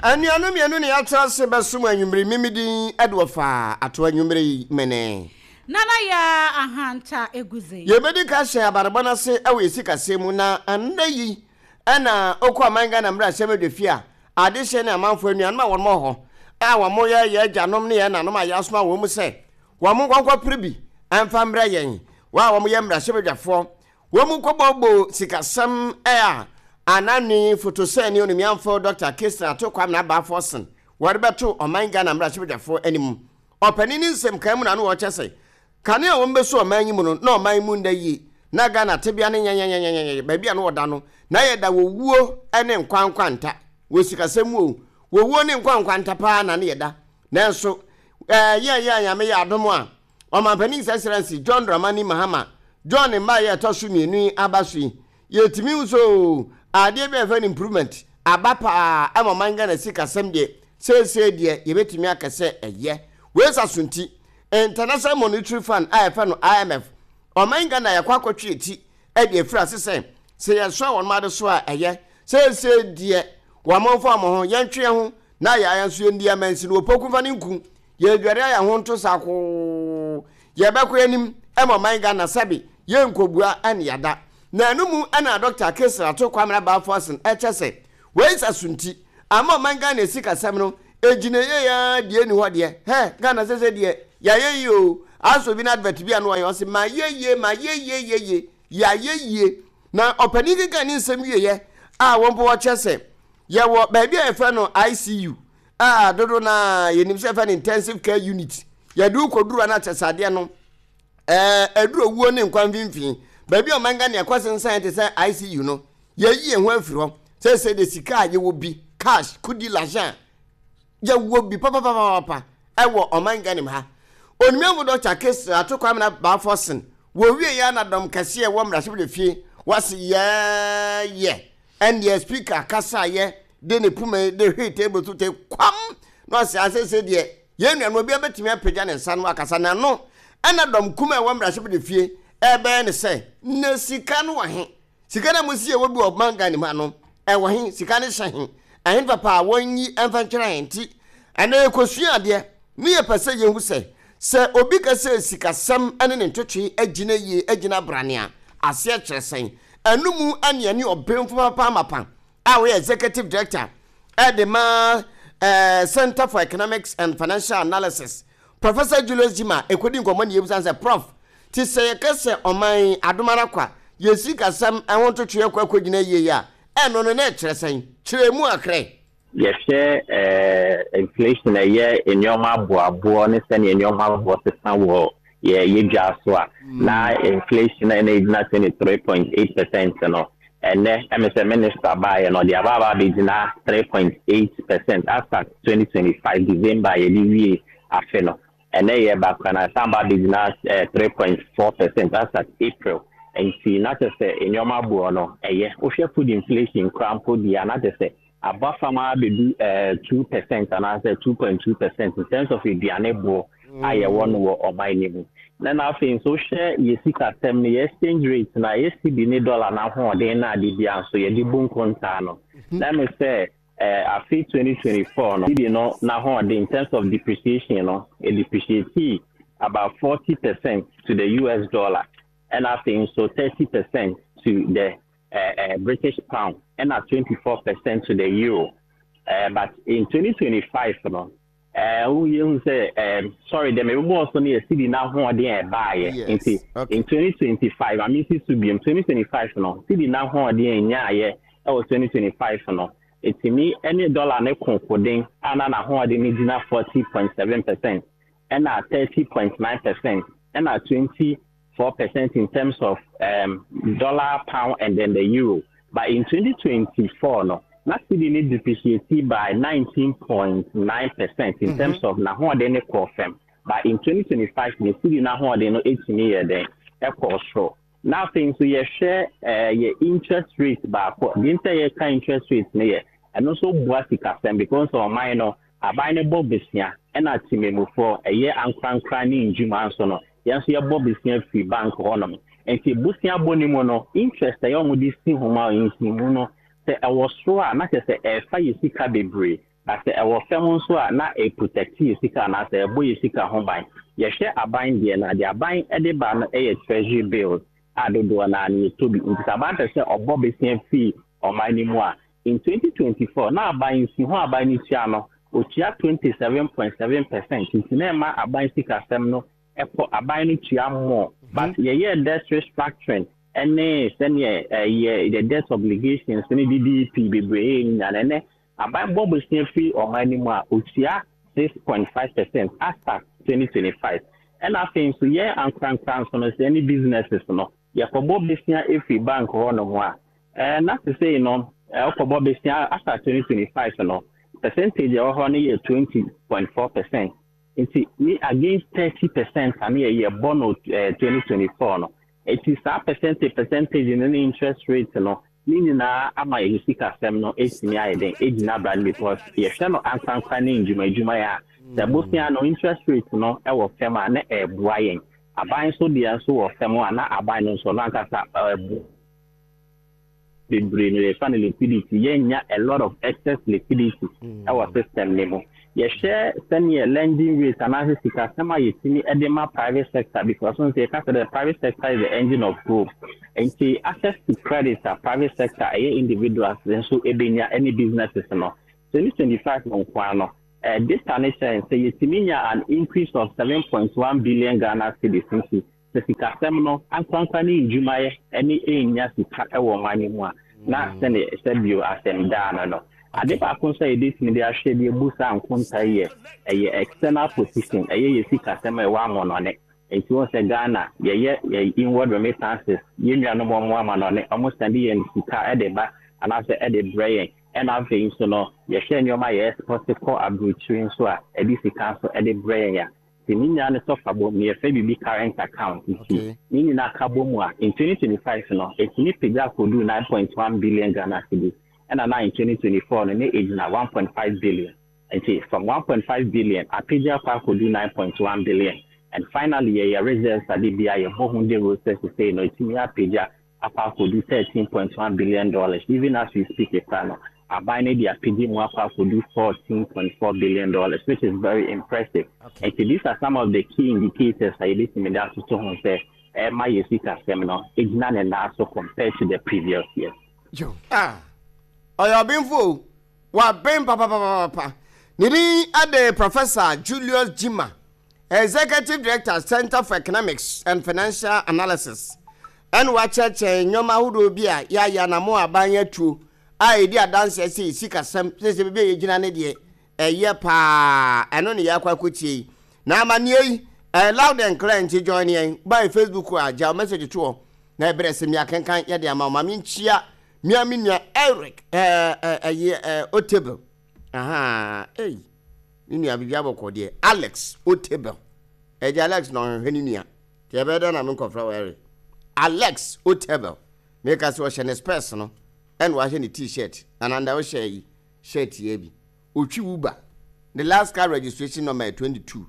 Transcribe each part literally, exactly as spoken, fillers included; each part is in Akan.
Anuanom mmienu ne yɛatena ase bɛsom anwummere. Mimidin ɛde wɔfa ato anwummere yi mene Nana Yaa Ahanta Eguze. Yɛbɛdi ka hyɛ abarebɔ no ase ɛwɔ yɛsi kaseɛ mu na ɛnnɛ yi ɛna okɔ aman Ghana mmarahyɛ fie a adehyɛ ne amanfoɔ anuanom a wɔn wɔ hɔ a wɔn yɛ yɛ agyanom ne yɛn nanom a yɛasoma wɔn mu sɛ wɔn nkɔnkɔ pere bi ɛmfa mmerɛ yɛn wɔn a wɔn yɛ mmarahyɛbadwafoɔ wɔn mu kɔbɔbɔ sikasɛm a anani fotosɛni onimiamfo Doctor Christian Ato Kwame Abaafo sen wɔde bɛto ɔman Ghana mmarahyɛbadwafoɔ anim. Ɔpanin ne nsɛm kan mu na ano wɔkyɛ sɛ kanea a wɔn bɛso ɔman yi mu no na ɔman mu nda yie na Ghana tebea ne nyɛnyɛnyɛnyɛnyɛ baabi a no wɔda no na yɛda wɔwuo ne nkwankwanta wɔ sikasɛm mu o, wɔwuo ne nkwankwanta paa na ne yɛda. Nanso ɛɛ yɛn yɛn Nyame yɛ adom a ɔmanpanin His Excellency John Dramani Mahama John mma yɛ ɛtɔ so mmienu yi aba so yi, yɛtumi nso adeɛ bi a yɛfrɛ no improvement aba paa ɛma ɔman Ghana sikasɛm deɛ seesei deɛ yɛbɛtumi aka sɛ ɛyɛ. Wei sa so nti International Monetary Fund a yɛfrɛ no I M F, ɔman Ghana yɛkɔ akɔtwe eti ɛde afiri ase sɛ sɛ yɛsoa wɔn ade so a ɛyɛ seesei deɛ wɔn mfa wɔn ho yɛntwe yɛn ho na yɛ ayɛ nso yɛndi amansi no wɔpoku fa ne nku yɛdware ayɛ ho nto sakoo yɛbɛkɔ anim ɛma ɔman Ghana sɛbi yɛnkɔbua ɛne yada. Na ɛno mu ɛna Doctor Kesra Ato Kwame Abaafo Asen ɛkyɛ sɛ wei sa so nti ama ɔman Ghana esi kasɛm no egyina yie ya deɛ ni hɔ deɛ hɛ Ghana sɛ sɛ deɛ yɛayɛ yie o asɔ bi na advert bi a no ɔyɛ ɔsɛ ma yɛ yie ma yɛ yie yie yie yɛayɛ yie. Na ɔpanin keka ne nsɛm wieɛ a wɔn mpo wɔkyɛ sɛ yɛwɔ baabi a yɛfrɛ no I C U a dodo na yɛnim sɛ yɛfrɛ no intensive care unit. Yɛde wokɔduru a na kyɛ sɛ adeɛ no ɛɛ ɛduru owuo ne nkwa mfimfini baabi a ɔman Ghana ɛkɔ sensan te sɛ I C U no, yɛyi yɛn ho afiri hɔ sɛ sɛ de sika a yɛwɔ bi cash kudi l'argent yɛwɔ bi papapapapa ɛwɔ ɔman Ghana mu ha. Onimiafo Doctor Kesra Ato Kwame na Baafo sen wɔwie yɛ anadɔm kɛseɛ ɛwɔ mmarahyɛbadwa fie wɔse yɛɛyɛ ɛndeɛ speaker kasaeɛ de ne puma de hwee table so te kwam na ɔsɛ asese deɛ yɛn nua no obiara bɛtumi apagya ne nsa no akasa n'ano. Ɛna dɔm kum a ɛwɔ mmarahyɛbadwa fie ɛbɛyɛ ne sɛ na sika no wɔ he? Sika no a mo si ɛwɔ bi wɔ ɔman Ghana mu ha no ɛwɔ he? Sika no hyɛ he? Ɛhe papa a wɔnyi ɛmfa nkyerɛ he? Nti ɛnna yɛkɔsua adeɛ ne yɛpɛ sɛ yɛhu sɛ sɛ obi ka sɛ sikasɛm ne ne ntwetwe agyina yie agyina brane a aseɛ kyerɛ sɛn. Ɛno mu ɛne ɛne ɔbɛnfo papa amapa a wɔyɛ executive director ɛde ma ɛɛ Center for Economics and Financial Analysis, Professor Julius Jima, ekodi nkɔmɔ ne yɛbusa sɛ, Prof, ti sɛ yɛka sɛ ɔman adomara kwa yɛ sikasɛm ɛho ntwetwe akɔ akɔgyina yie a ɛno no na ɛkyerɛ sɛn? Kyerɛ mu akrɛ. Yɛhwɛ ɛɛ inflation, ɛyɛ nneɛma aboaboɔ ne sɛnea nneɛma aboɔ sesa wɔ yɛ yɛ dwa so a, na inflation na ɛna egyina twenty three point eight percent no, ɛnɛ ɛmɛ sɛ minister baayɛ no ɔde aba aba abɛgyina three point eight percent asa twenty twenty five December yɛde wie afe no. Ɛnɛ yɛ baako na san ba abɛgyina ɛɛ three point four percent asa April. Nti na kyerɛ sɛ nneɛma aboɔ no ɛyɛ. Wohwɛ food inflation koraa mpo deɛ a, na kyerɛ sɛ aba fam abɛdu ɛɛ two percent anaasɛ two point two percent in terms of aduane boɔ a yɛwɔ no wɔ ɔman no mu. Na na afei nso wohwɛ yɛ sikasɛm no, yɛ exchange rate na yɛ cedi ne dollar n'ahoɔden na ade bia nso yɛde bu nkontaa no, na me sɛ ɛɛ afe twenty twenty four no, cedi no n'ahoɔden in terms of depreciation no, e depreciate about forty percent to the U S dollar, ɛna afei nso thirty percent to the uh, uh, British pound, ɛna twenty four percent to the euro. Uh, but in twenty twenty five no, ɛɛ woyɛ sɛ ɛɛ sorry, dɛm ebibɔ so no yɛ cedi n'ahoɔden a ɛbaayɛ. Nti in twenty twenty five, ame si so biom, twenty twenty five no, cedi n'ahoɔden a ɛnyaayɛ ɛwɔ twenty twenty five no, etimi ɛne dollar ne kokoden a na n'ahoɔden no gyina forty point seven percent, ɛna thirty point nine percent, ɛna twenty four percent in terms of um, dollar, pound and then the euro. But in twenty twenty-four no, na cedi no depreciate by nineteen point nine percent in mm -hmm. terms of n'ahoɔden ne kɔɔ fam. But in twenty twenty-five ne cedi n'ahoɔden no etumi yɛ dɛn ɛkɔɔ soro. Na afei nso yɛhwɛ ɛɛ yɛ interest rate baako deɛ nti a yɛka interest rate no yɛ ɛno nso boa sikasɛm because ɔman no aban no bɔ besia, ɛna temamufoɔ ɛyɛ ankorankora ne ndwuma nso no yɛn nso yɛbɔ besia firi bank hɔnom. Nti bosia bɔ ne mu no, interest ɛyɛ wɔn de si homa nsimu no sɛ ɛwɔ soro a, na kyerɛ sɛ ɛfa yɛ sika bebree. Na sɛ ɛwɔ fam nso a, na ɛprotect yɛ sika anaasɛ ɛbɔ yɛ sika ho ban. Yɛhwɛ aban deɛ no, adeɛ aban de ba no yɛ treasury bills a dodoɔ naa no yɛtɔ bi. Nti sɛ aban pɛ sɛ ɔbɔ besia fii ɔman no mu a, in twenty twenty-four na aban nsi ho aban no tua no, otua twenty-seven point seven percent. Nti na ɛma aban sikasɛm no ɛkɔ, aban no tua more. But yɛyɛ debt restructuring ɛne sɛneɛ ɛyɛ the debt obligations ne D D E P bebree nyinaa, ɛnɛ aban bɔ bosia firi ɔman no mu a, otua six point five percent after twenty twenty-five. Ɛna afei nso yɛn ankorankora nso no, sɛ ɛne businesses no yɛkɔbɔ besia efiri bank hɔ nom a, ɛɛ na sesei no ɛwɔkɔbɔ besia after twenty twenty-five no, percentage ɛwɔ hɔ no yɛ twenty point four percent. Nti ni against thirty percent a ne yɛ yɛbɔ no ɛɛ twenty twenty-four no. Eti saa percentage percentage no ne interest rate no ne nyinaa ama yɛ sikasɛm no etumi ayɛ den egyina bra no, because yɛhwɛ no ankorankora ne ndwumadwuma yɛ a, sɛ bosia no interest rate no ɛwɔ fam a, na ɛɛboa yɛn. Aban nso deɛ nso wɔ fam a, na aban no nso no ankasa ɛɛbo bebree no, yɛfa no liquidity, yɛnya a lot of excess liquidity ɛwɔ system ne mu. Yɛhwɛ sɛneɛ lending rate anaasɛ sikasɛm a yɛtumi de ma private sector, because nso yɛka sɛ the private sector is the engine of growth. Nti access to credit a private sector, ɛyɛ individuals nso ebenya ɛne businesses no, twenty twenty-five no nkoa no, uh, data ne kyerɛ sɛ yɛtumi nya an increase of seven point one billion Ghana cedis. Nti sɛ sikasɛm no ankorankora ne ndwumayɛ ne ɛnya sika ɛwɔ ɔman no mu a, na sɛne sɛ bio asɛm daa no no ade baako nso a yɛbɛtumi de ahwɛ de ebu saa nkonta yi yɛ ɛyɛ external position, ɛyɛ yɛ sikasɛm a ɛwɔ amɔnɔne. Nti wɔn sɛ Ghana yɛyɛ yɛ inward remittances, yɛn nuanom wɔn amanɔne, wɔn send yɛn sika ɛde ba anaasɛ ɛde brɛ yɛn. Ɛna afei nso no, yɛhwɛ nneɛma a yɛ export kɔ aburokyire nso a, ɛde sika nso ɛde brɛ yɛn a, nti ne nyinaa ne sɔfa bɔ mu, yɛfrɛ biribi current account. Nti ne nyinaa ka bɔ mu a, in twenty twenty-five no, ɛtumi pagya akɔdu nine point one billion Ghana cedis. Ɛna na in twenty twenty-four no, ne ɛgyina one point five billion. Nti from one point five billion apagya akɔ akɔdu nine point one billion. And finally, yɛyɛ reserves ade bi a yɛbɔ ho de roses sɛ no, ɛtumi apagya akɔ akɔdu thirteen point one billion dollars. Even as we speak ekura no, aban no de apagya mu akɔ akɔdu fourteen point four billion dollars, which is very impressive. Okay. Nti these are some of the key indicators a yɛbɛtumi de atoto ho sɛ ɛma yɛ sikasɛm no egyina ne nan so compared to the previous year. Yo. Ah, ɔyɛ ɔbenfo o, waben papapapapa. Ne din ade Professor Julius Gyimah, Executive Director, Center for Economics and Financial Analysis. Ɛna wakyerɛkyerɛ nneɛma ahodoɔ bi a yɛayɛ anamo aban atuo a yɛdi adanseɛ sɛ sikasɛm sɛ sɛ baabi a yɛgyina ne deɛ ɛyɛ paa. Ɛno ne yɛakɔ akɔtie yi na amanneɛ yi ɛyɛ loud and clear. Nti join yɛn by Facebook a, gya wo message toɔ na ɛberɛ sɛ mmea kenkan yɛde ama wo. Ma menkyia mmea me nua Eric ɛɛ ɛyɛ ɛɛ Otable. Aha, ei, me nua, biribi abɔkɔ deɛ. Alex Otable, ɛgye Alex na ɔhwehwɛ ne nua nti ɛbɛyɛ dɛ na menkɔfrɛ wɔ Eric. Alex Otable, meka sɛ ɔhyɛ ne specs no ɛna wahyɛ ne T-shirt ananda ɔhyɛ yi shirt yɛ bi otwi Uber. Ne last car registration number yɛ twenty-two,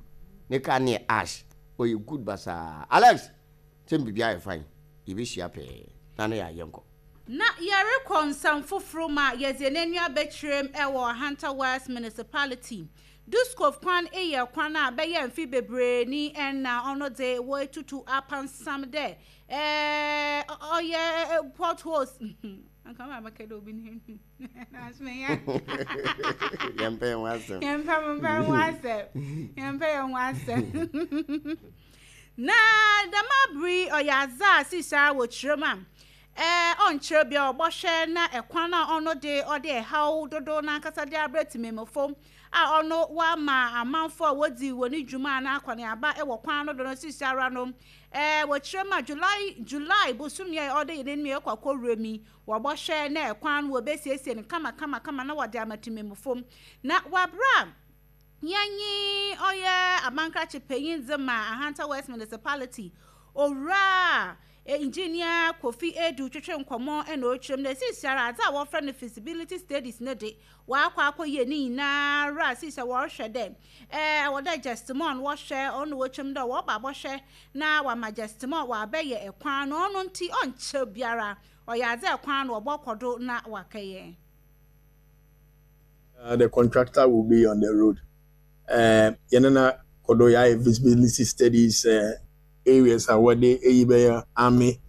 ne car ne yɛ ash. Ɔyɛ good basaa. Alex, sɛ biribi ayɛ fine, yɛbɛhyia pɛɛ na ne yɛ ayɛ nkɔ. Na yɛrekɔ nsɛm foforɔ mu a, yɛdze n'ani abɛkyerɛm ɛwɔ Ahanta West Municipality. Dixcove kwan yɛ kwan a bɛyɛ mfe bebree ni, ɛna ɔno de wɔatutu apansam dɛ ɛɛ ɔyɛ potholes. Anka ma bɛka dɛ obi ne Yɛmpɛ yɛn ho asɛm. Yɛmpɛ mpɛ ho asɛm, yɛmpɛ yɛn ho asɛm. Na dɛm abere ɔyɛ adze a sisa wɔ kyerɛm a ɛɛ ɔnkyerɛ bia ɔbɔhwɛ na ɛkwan a ɔno de ɔde ɛhaw dodo n'ankasa de abrɛ tìmɛmufo a ɔno wama amanfo a wodzi wɔn ne dwuma a n'akɔneaba ɛwɔ kwan no do no. Sisi ara no, ɛɛ wɔkyerɛ mu a, july july bosomi a ɔde yɛn anim ɛkɔ akɔwura mi, wɔbɔhwɛ na ɛkwan no wɔbɛsiesie no kama kama kama na wɔde ama tìmɛmufo. Na wabra yɛnye ɔyɛ abankrakye panyin dze ma Ahanta West Municipality, Owura Engineer Kofi Edu, twetwe nkɔmɔ ɛna ɔretwerɛ mu na esisi ara adze a wɔfrɛ no feasibility studies ne de wakɔ akɔ yie ne nyinaa ra. Sisi wɔrehwɛ dɛ ɛɛ ɛwɔ dɛ Justimon wɔhwɛ ɔno wɔtwam dɛ wɔba abɔhwɛ na wama Justimon wabɛyɛ ɛkwan no. Ɔno nti ɔnkyɛ biara ɔyɛ adze ɛkwan no wɔbɔ kɔ do na wakɛyɛ. Uh, the contractor will be on the road. Uh, yɛne na kɔdɔ yɛayɛ visibility studies, uh, areas a wɔde eyi bɛyɛ army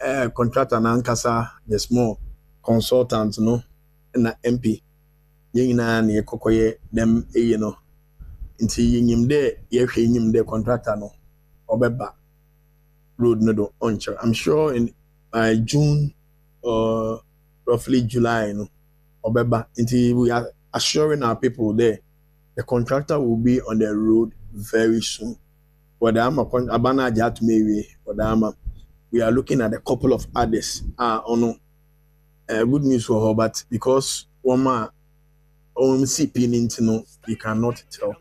uh, contractor n'ankasa, the small consultant no na M P, yɛn nyinaa na yɛkɔkɔyɛ dɛm eyi no. Nti yɛnyim dɛ yɛhwɛ enyim dɛ contractor no ɔbɛba road no do ɔnkyɛr. I'm sure in by June or roughly July no ɔbɛba. Nti we are assuring our people there the contractor will be on the road very soon. Wɔde ama aba no agye atom awie, wɔde ama. We are looking at a couple of others a ɔno uh, good news wɔ hɔ, but because wɔn a wɔn C P ne nti no, you cannot tell.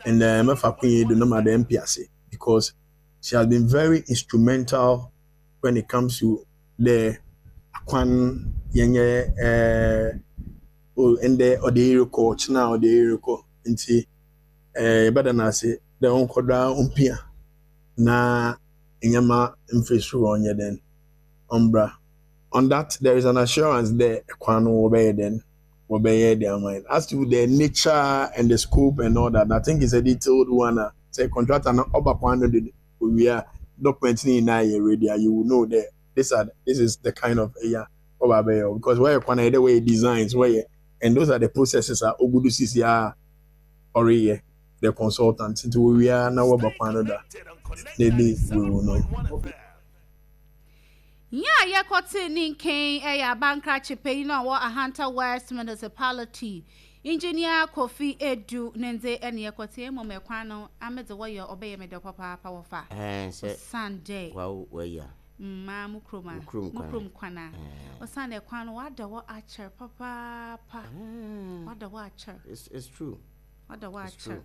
And uh, mɛfa kwan do no ma the M P ase because she has been very instrumental when it comes to the akwan yɛnyɛ ɛɛ o ndɛ ɔde rekɔ, ɔkyena ɔde rekɔ. Nti ɛɛ yɛbɛda n'ase dɛ ɔnkɔda ɔmpia na nneɛma mfiri soro ɔnyɛ den ɔmbra. On that, there is an assurance there kwan no wɔbɛyɛ den, wɔbɛyɛ de ama yɛn. As to the nature and the scope and all that, I think it's a detailed one a sɛ contractor no ɔba kwan no de owie a, document ne nyinaa yɛ ready a, you will know that this are this is the kind of ɛyà ɔba abɛyɛ, because wɔyɛ kwan na yɛ dɛ wɔyɛ designs wɔyɛ, and those are the processes a ogudu sisi a ɔreyɛ the consultant. Nti owie a na wɔba kwan no da, maybe we will know. Nyɛ a yɛkɔte ne nkɛn ɛyɛ abankrakye panyin a ɔwɔ Ahanta West Municipality, Engineer Kofi Edu ne ndze ɛne yɛkɔte. Mmom ɛkwan no amedze wɔyɛ ɔbɛyɛ mɛdɛ papaapa wɔfa ɛɛ sɛ Sunday wawo wayi a mmaa mu kurom a Wo kurom mu kwan. Kurom kwan a ɔsan ɛkwan no wada hɔ akyɛr papaapa, wada hɔ akyɛr. it's it's true. Wada hɔ It's akyɛr true.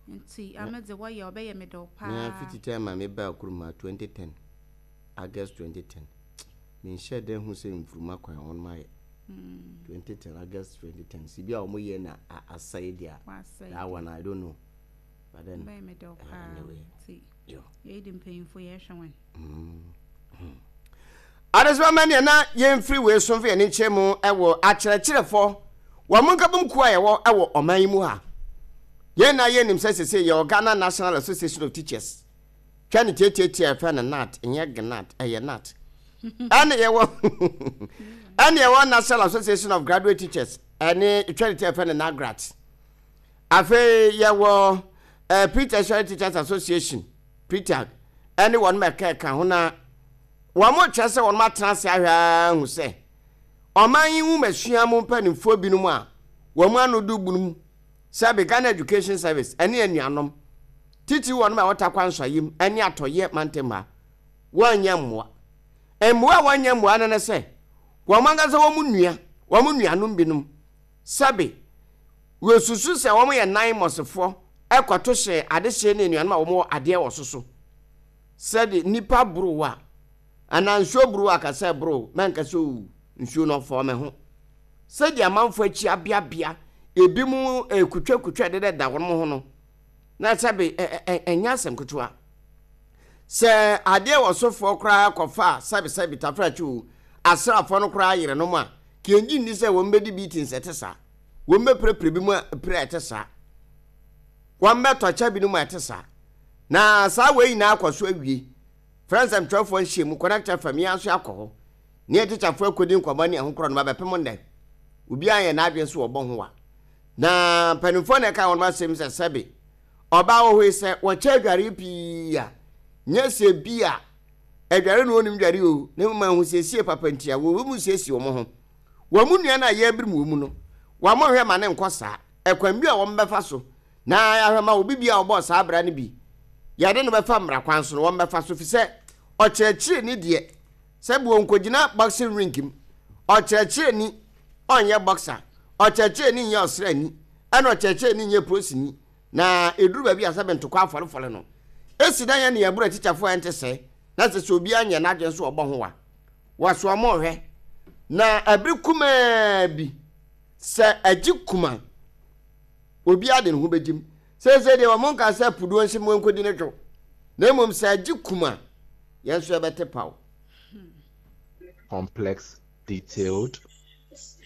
Nti amedze wɔyɛ ɔbɛyɛ mɛdɛ Na paa. Fiti time a mebaa kurom a, twenty ten, August twenty ten, menhyɛ dɛ hu sɛ mfuruma kwan wɔn ayɛ twenty ten, August twenty ten si bi a wɔn yɛ na a- asɛe deɛ a Wasɛe. That one I don't know, but then ɔbɛyɛ mɛdɛ paa. Anyway. Nti yo. Yɛyi de mpanyinfo yɛhwɛ wɔn. Adesima ma neɛ na yɛmfiri wei so mfa yɛne nkyɛn mu ɛwɔ akyerɛkyerɛfoɔ wɔn mo nkabom kuo a yɛwɔ ɛwɔ ɔman yi mu ha. Yɛn na yɛnim sɛ sese yɛwɔ Ghana National Association of Teachers, twa ne tietietie a yɛfrɛ no G N A T, ɛnyɛ G N A T, ɛyɛ G N A T. Ɛne yɛwɔ ɛne yɛwɔ National Association of Graduate Teachers, ɛne twa ne tie a yɛfrɛ no NAGRAT. Afei yɛwɔ ɛɛ Pre-Tertiary Teachers Association, P T A G, ɛne wɔn mɛka ɛka ho. Na wɔn mo kyerɛ sɛ wɔn atena ase ahwɛ ara hu sɛ ɔman yi nwomasua mu mpanimfoɔ binom a wɔn ano do bunum sɛbi Ghana Education Service ɛne anuanom titi wɔn a wɔta kwan nsɔyim ɛne atɔyɛ mantam ha, wɔnyɛ mmoa. Mmoa a wɔnyɛ mmoa no ne sɛ wɔn ankasa wɔn nua, wɔn nuanom binom sɛbi wɔsusu sɛ wɔn yɛ nan mɔsefoɔ ɛkɔto hyɛ adehyeɛ ne anuanom a wɔn wɔ adeɛ wɔ so so sɛde nipa boro a anaa nsuo boro a kasa boro mɛnka sɛ o nsuo no ɔfɔ me ho sɛdeɛ amanfoɔ akyi abeabea ebi mu ekutwakutwa deda wɔn ho no na sɛbi ɛ ɛ ɛnyɛ asɛm ketewa sɛ adeɛ wɔ sofoɔ koraa kɔfa a sɛbi sɛbi tafrakyi o asraafoɔ no koraa yere no mu a kɛngyi nni sɛ wɔn bɛdi bi ti nsɛte saa, wɔn bɛpirapira bi mu a pira ɛte saa, wɔn bɛtɔkyɛ bi no mu a ɛte saa. Na saa wei nyinaa akɔ so awie frɛ nsɛmtwerɛfoɔ nhyia mu Connect F M. Yɛn nso akɔ hɔ ne yɛ tikyafoɔ akɔdi nkɔmmɔ ne ɛho korɔ no ba bɛpem nnɛ. Obiara yɛ n'adwene so wɔbɔ ho wa na mpanimfoɔ na ɛka wɔn asɛm sɛ sɛbe ɔbaa wɔ hɔ yi sɛ wɔkyɛ adware pii a nyɛ sɛ bi a adware no wɔnim dware o, na mmom ahosiesie papa nti a wɔwɔ mu siesie wɔn ho. Wɔn mu nua no a yɛrebere mu wɔ mu no, wɔn hwɛ ma ne nkɔ saa ɛkwan bi a wɔn bɛfa so na yɛahwɛ ma obi bi a ɔbɔɔ saa abira no bi yɛde no bɛfa mmara kwan so no, wɔn bɛfa so fi sɛ ɔkyerɛkyerɛ deɛ sɛ bi wɔn nkɔgyina boxing ring mu. Ɔkyerɛkyerɛni ɔnyɛ boxer, ɔkyerɛkyerɛni nyɛ ɔsrani, ɛna ɔkyerɛkyerɛni nyɛ polisini. Na eduru baabi a sɛ ntokwa afɔlefɔle no esi dan yɛ ne yɛboro atikyafoɔ a ɛnte sɛ na sɛ sɛ obiara nyɛ n'adwene so ɔbɔ ho wa wɔso ɔmo hwɛ na abiri kumaa bi sɛ agye kuma obiara de ne ho bɛgyim. Seesei deɛ wɔn nka sɛ puduo nhyɛ mu nkɔdi ne dwo, na mmom sɛ agye kuma yɛn nso yɛbɛte paw. Complex, detailed,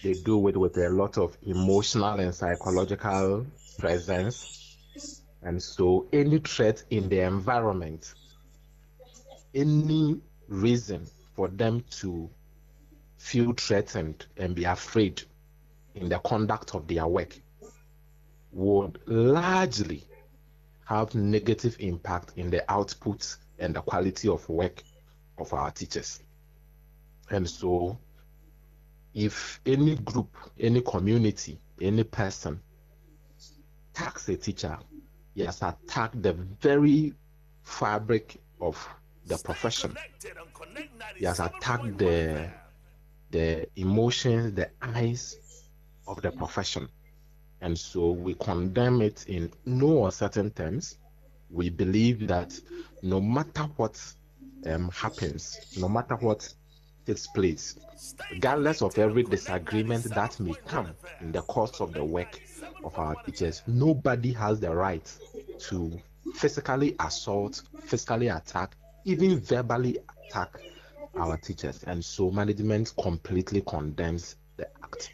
They do it with a lot of emotional and psychological presence. And so any threat in the environment, any reason for them to feel threatened and be afraid in the conduct of their work would largely have negative impact in the output and the quality of work of our teachers. And so if any group, any community, any person attacks a teacher, he has attacked the very fabric of the profession. He has attacked the, the emotions, the eyes of the profession. And so we condemn it in no uncertain terms. We believe that no matter what um, happens, no matter what takes place, regardless of every disagreement that may come in the course of the work of our teachers, nobody has the right to physically assault, physically attack, even verbally attack our teachers. And so management completely condemns the act.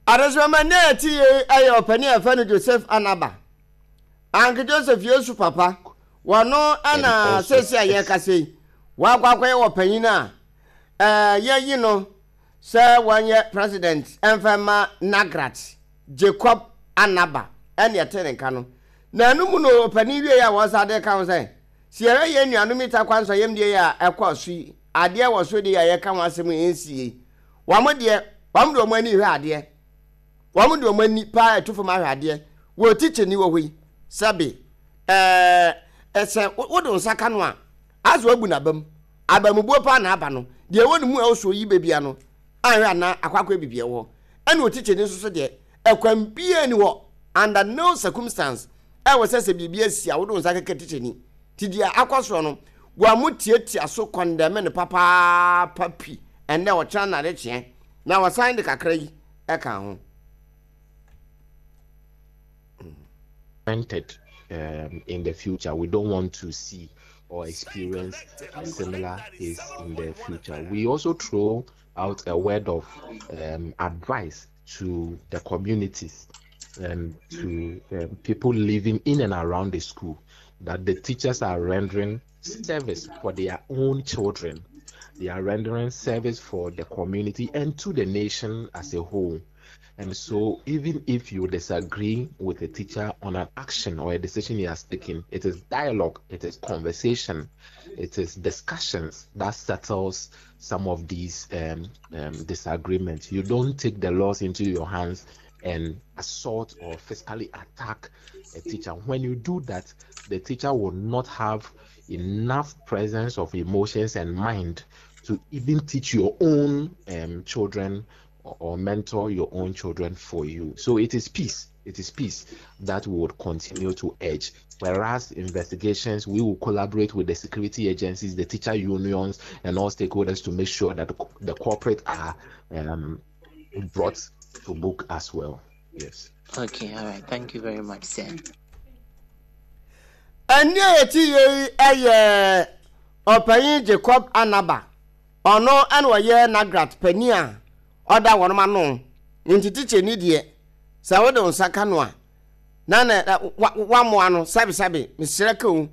Adesoma ne ti ayo pani afanu Joseph Anaba. Anke Joseph Yesu papa wano ana sesi aye kase wa kwakwa ye wo na eh ye yi no se wanye president emfema Nagrat Jacob Anaba ene ete ne nka no na anu no pani wie ya wo sa de ka ho se si ere ye nuanu mita kwanso yem de ya ekọ so yi ade wo so de ya ye ka ho asem ensie wa mo de wa mo de mo ani hwe ade wa mo de mo ani pa etufo ma hwe ade wo teacher ni wo hwe sabi eh ese wo de nsaka no a azo abu na bam abamubuo pa na aba no de wo ne mu a wo so yi bebia no anhwe ana akwakwa bibia wo ene o teacher ni so so de ekwan bia ni wo under no circumstance e wo sese bibia si a wo de nsaka ka teacher ni ti dia akwaso no wa mu tietia so condemn ne papa papi ene wo cha na de che na wo sign de kakra yi e ka ho. Um, in the future, we don't want to see or experience a similar case in the future. We also throw out a word of um, advice to the communities and to um, people living in and around the school that the teachers are rendering service for their own children. They are rendering service for the community and to the nation as a whole. And so even if you disagree with a teacher on an action or a decision he has taken, it is dialogue, it is conversation, it is discussions that settles some of these um, um, disagreements. You don't take the laws into your hands and assault or physically attack a teacher. When you do that, the teacher will not have enough presence of emotions and mind to even teach your own um, children or mentor your own children for you. So it is peace. It is peace that we would continue to urge. Whereas investigations, we will collaborate with the security agencies, the teacher unions, and all stakeholders to make sure that the, the corporate are um, brought to book as well. Yes. Okay, all right. Thank you very much, sir. And Jacob Anaba. Ono anwa Nagrat Penia. Oda won ma no nti teacher ni de sa wo de nsaka no a na na wa mo ano sabi sabi mesere ka o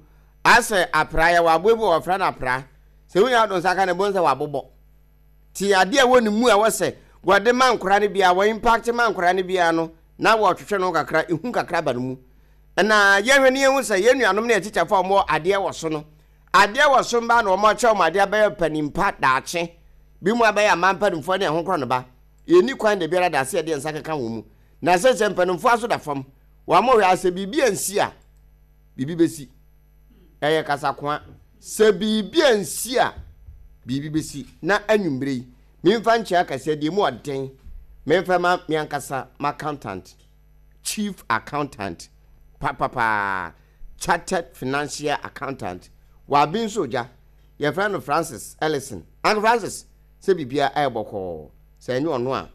ase apra ya wa bobu wo fra na apra se wo ya do nsaka na bon se wa bobo ti ade a wo ne mu a wo se wo de man kora ne bia wo impact man kora ne bia no na wo twetwe no kakra ehu kakra ba no mu na ye hwe ne yehu se ye nuanom na teacher fa mo ade wo so no ade wo so mba na wo mo che mo ade ba panimpa daache bi mu abaya mampanimfo ne ho kro no ba ye ni kwan de biara da se de nsa keka wo mu na se se mpanimfo aso da fam wa mo hwe ase bibi ansi a bibi besi eye kasa kwa se bibi ansi a bibi besi na anwumbre yi mimfa nche akase de mu oden memfa ma mi ankasa ma accountant chief accountant papa chartered financial accountant wa bi nso ja ye friend Francis Ellison. Uncle Francis se bibia e boko se enyo ono a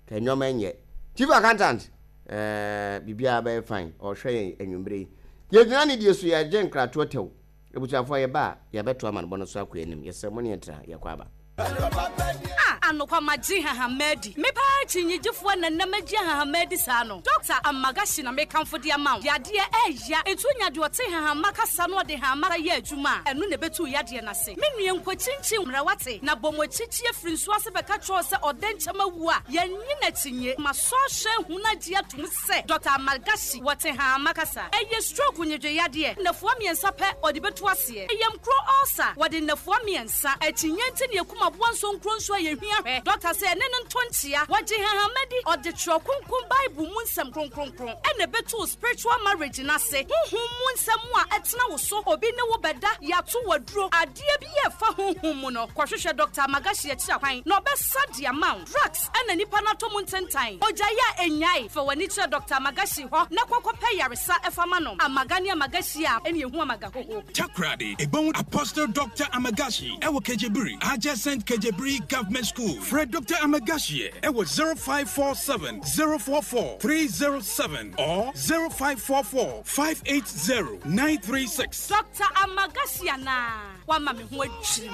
ka enyo ma enye chief accountant eh bibia ba fine o hwe enwumbre ye gyina ne die so ye gye nkrato tew ebuchafo ye ba ye beto ama no so akwa anim ye se mo ne tra ye kwa ba. Ah, Anokwa magye hahamadi. Mepa chinyigyefoɔ na namagye hahamadi saa no. Doctor Amagashi na mekamfo de ama wo. Yadeɛ ɛya etu nya de ɔte hahama kasa no ɔde hahama yɛ adwuma. Ɛno na betu yadeɛ na se. Me nua nkwachinchin mrawate na bomɔchichi afiri nso ase bɛka kyerɛ sɛ ɔdɛnkyɛm awu a yɛnyi na kyinye. Ma sɔhwɛ huna gye atum sɛ Doctor Amagashi wɔte hahama kasa. Ɛyɛ stroke nyedwe yadeɛ. Nafoɔ mmiɛnsa pɛ ɔde betu aseɛ. Ɛyɛ mkro ulcer wɔde nafoɔ mmiɛnsa. Akyinye nti ne ekuma boa nso nkro nso a yɛhwia hwɛ. Doctor sɛ ɛne ne ntonkyia wɔgye hahamadi ɔde twerɛ kronkron Bible mu nsɛm kronkronkron. Ɛna betu spiritual marriage na se honhom mu nsɛm a ɛtena wo so obi ne wo bɛda yɛato waduro adeɛ bi yɛ fa honhom mu no kɔhwehwɛ Doctor Amagashi akyira kwan na ɔbɛsa de ama wo. Drugs ɛna nipa no atɔ mu ntentan ogya yɛ enyae fa w'ani kyerɛ Doctor Amagashi hɔ na kɔkɔpɛ yaresa ɛfa ma no. Amaga ne Amagashi a ɛne ehu Amagahoho. Takoradi ebon Apostle Doctor Amagashi ɛwɔ Kejebiri adjacent Kejebiri Government School. Fred Doctor Amagashi ɛwɔ zero five four seven zero four four three zero seven or zero five four four five eight zero nine three six. Doctor Amagashi ana wama me ho adwiri.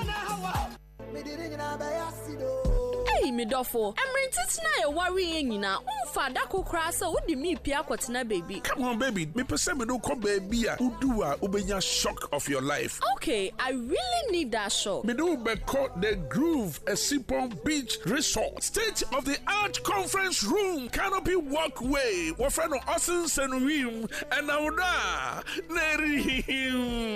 Hey, me dofo, emrintitina ye worry nyina. Unfa dako kra se wodi mi pia kwotena baby. Come on baby, me pese me do ko baby a udu a ubenya shock of your life. Okay, I really need that shock. Me do be called the Groove Essipon Beach Resort. State of the art conference room, canopy walkway. Wo friend no Osin Senwim and awda neri.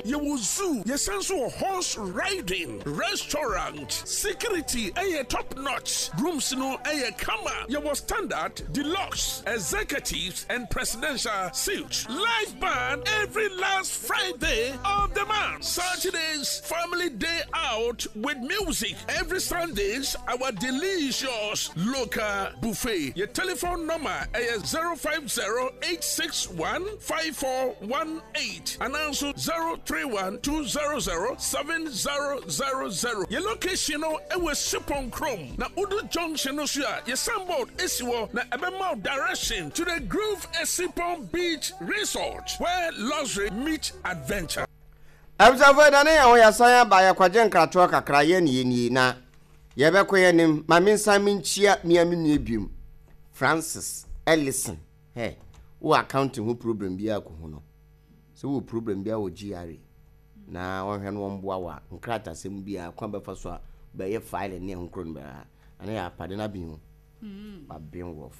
Ye wo zoo, ye senso horse riding, restaurant, security, eh top notch. Rooms no aye kama. You was standard, deluxe, executives, and presidential suites. Live band every last Friday of the month. Saturdays, family day out with music. Every Sundays, our delicious local buffet. Your telephone number is zero five zero eight six one five four one eight and also zero three one two zero zero seven zero zero zero. Your location is Sipon Chrome. Now Udu Junction no so a, your signboard esi hɔ na ɛbɛma wo direction to the Groove Essipon Beach Resort where luxury meets adventure. Abusafo da ne yɛn ho yɛsan aba yɛkwagye nkratoɔ kakra yɛ ne yɛnie na yɛbɛkɔ yɛnim ma me nsa menkyia mea me nua biom Francis Ellison. Hey, wo accounting ho problem biara kɔ ho no sɛ wo problem biara wɔ G R A na wɔhwɛ no wɔmboa wo a nkratasɛm biara kwan bɛfa so a bɛyɛ file ne ɛho koro no bɛa ana yɛ apade no abɛn o waben wɔf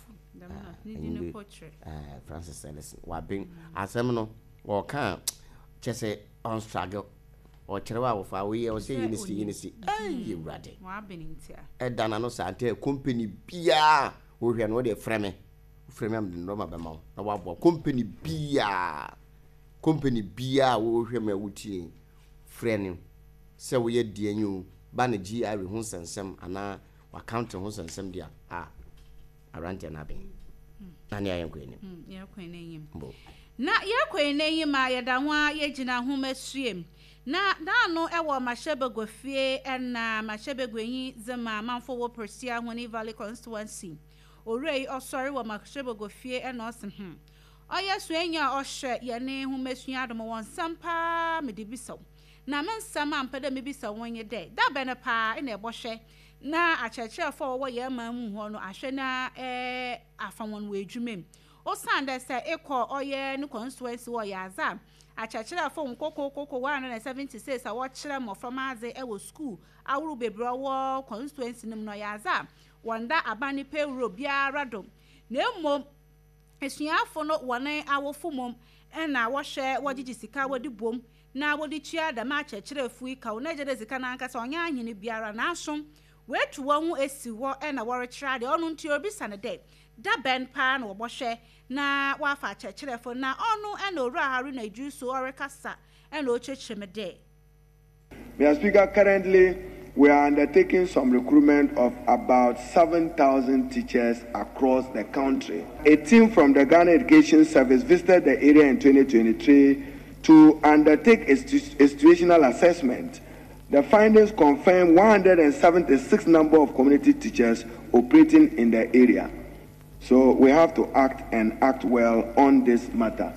Francis Ellison waben asɛm no wɔka kyɛ sɛ on struggle ɔkyerɛ wa wɔfa woyɛ ɔsɛ yi ne si yi ne si ɛyɛ wurade ɛda na no saa nti company biara wohwɛ no wode frɛ me frɛ me amde nɔma bɛma wo na waboa company biara company biara wohwɛ me wotie frɛ no sɛ woyɛ deɛ nyi o ba ne G R ho nsɛnsɛm anaa account ho nsɛnsɛm deɛ a arante na ben na ne ayɛ nkɔ anim yɛkɔ anim na yɛkɔ anim a yɛda ho a yɛgyina ho masuem na naano ɛwɔ Mahyɛbego fie ɛna Mahyɛbego yi zema manfo wɔ Persia Honey Valley constituency owura yi ɔsɔre wɔ Mahyɛbego fie ɛna ɔse hmm ɔyɛ suanya a ɔhyɛ yɛne ho masua adom wɔn nsɛm paa mede bisa na me nsɛm a mpɛ dɛ mebisa wɔn nye dɛ da bɛn paa ɛna ɛbɔhwɛ na akyerɛkyerɛfo a wɔwɔ yɛn man mu hɔ no ahwɛ na ɛɛ afa wɔn wɔ adwuma mu osan dɛ sɛ ekɔ ɔyɛ ne constituency wɔ yɛ adza akyerɛkyerɛfo nkokokoko one hundred and seventy six a wɔkyerɛ mmɔframma adze ɛwɔ school ahorow bebree wɔ constituency no mu no ɔyɛ adza wɔn da aban ne payroll biara do na mmom esuafo no wɔne awofo mom ɛna wɔhwɛ wɔgyegye sika wɔde bom na wɔde tua dɛm akyerɛkyerɛfo yi ka wɔn agye de sika n'ankasa ɔnyɛ ahene biara n'aso wetu wɔn ho esi hɔ ɛna wɔrekyerɛ adeɛ ɔno nti obisa ne dɛ da bɛn paa na wɔbɔhwɛ na wafa akyerɛkyerɛfo na ɔno ɛna owura Haruna Iddrisu ɔrekasa ɛna ɔkyerɛkyerɛ mu dɛ. Mister Speaker, currently we are undertaking some recruitment of about seven thousand teachers across the country. A team from the Ghana Education Service visited the area in twenty twenty-three to undertake a situational assessment. The findings confirm one hundred seventy-six number of community teachers operating in the area. So we have to act and act well on this matter.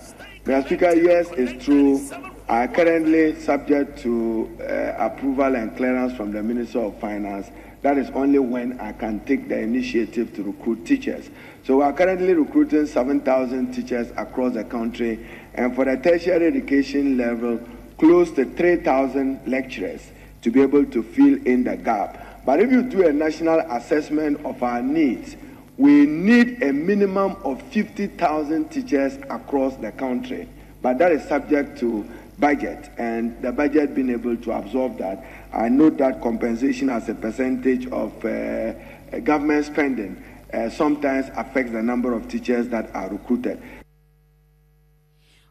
Mister Speaker, yes, it's true. Are currently subject to uh, approval and clearance from the Minister of Finance. That is only when I can take the initiative to recruit teachers. So we are currently recruiting seven thousand teachers across the country, and for the tertiary education level, close to three thousand lecturers to be able to fill in the gap. But if you do a national assessment of our needs, we need a minimum of fifty thousand teachers across the country. But that is subject to budget, and the budget being able to absorb that. I note that compensation as a percentage of, uh, government spending, uh, sometimes affects the number of teachers that are recruited.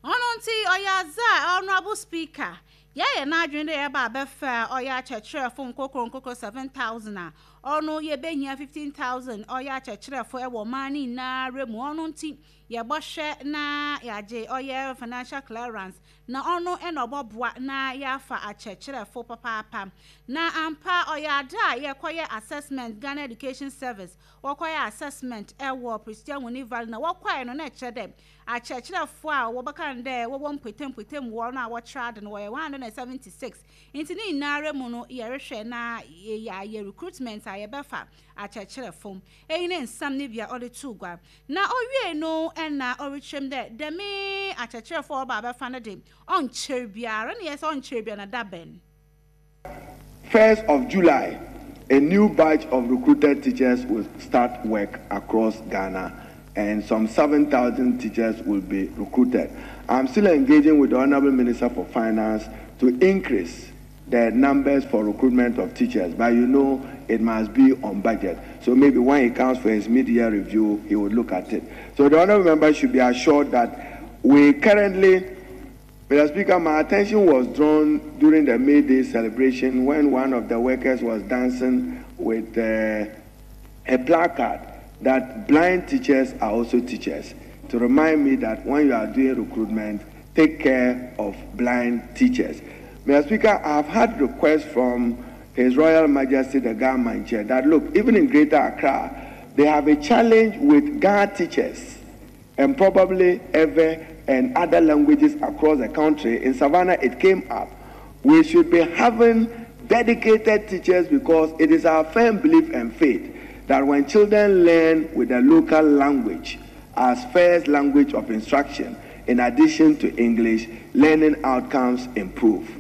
Hononti Oyaza, Honorable Speaker, yeah, na adwene de eba abefa oya akyerɛkyerɛfo nkokoro nkokoro seven thousand a ɔno yɛbɛhia fifteen thousand ɔyɛ akyerɛkyerɛfo ɛwɔ man ne nyinaa mu. Ɔno nti yɛbɔhwɛ na yɛagye ɔyɛ financial clearance na ɔno ɛna ɔbɔboa na yɛafa akyerɛkyerɛfo papaapa. Na ampa ɔyɛ ade a yɛkɔyɛ assessment, Ghana Education Service wɔkɔyɛ assessment ɛwɔ Prestea Wuni Valley na wɔkɔɛ no na ɛkyerɛ dɛ akyerɛkyerɛfo a wɔbɛka no dɛ wɔwɔ mpɔtam wɔ no a wɔkyerɛ ade no wɔyɛ one hundred and seventy six. Nti ne nyinaa mu no yɛrehwɛ na yɛayɛ recruitment a yɛbɛfa akyerɛkyerɛfo. Eyi ne nsɛm ne bia ɔde to gua na ɔwie no ɛna ɔrekyerɛm dɛ dɛme akyerɛkyerɛfo a ɔba abɛfa no de ɔnkyerɛ biara ne yɛ sɛ ɔnkyerɛ biara na da bɛn. First of July, a new batch of recruited teachers will start work across Ghana, and some seven thousand teachers will be recruited. I'm still engaging with the Honorable Minister for Finance to increase the numbers for recruitment of teachers, but you know it must be on budget. So maybe when he comes for his mid-year review, he would look at it. So the Honorable Member should be assured that we currently, Mister Speaker, my attention was drawn during the May Day celebration when one of the workers was dancing with, uh, a placard that blind teachers are also teachers, to remind me that when you are doing recruitment, take care of blind teachers. Mister Speaker, I have had requests from His Royal Majesty the Ga Mantse that, look, even in Greater Accra, they have a challenge with Ga teachers and probably Ewe and other languages across the country. In Savannah, it came up. We should be having dedicated teachers because it is our firm belief and faith that when children learn with the local language as first language of instruction, in addition to English, learning outcomes improve.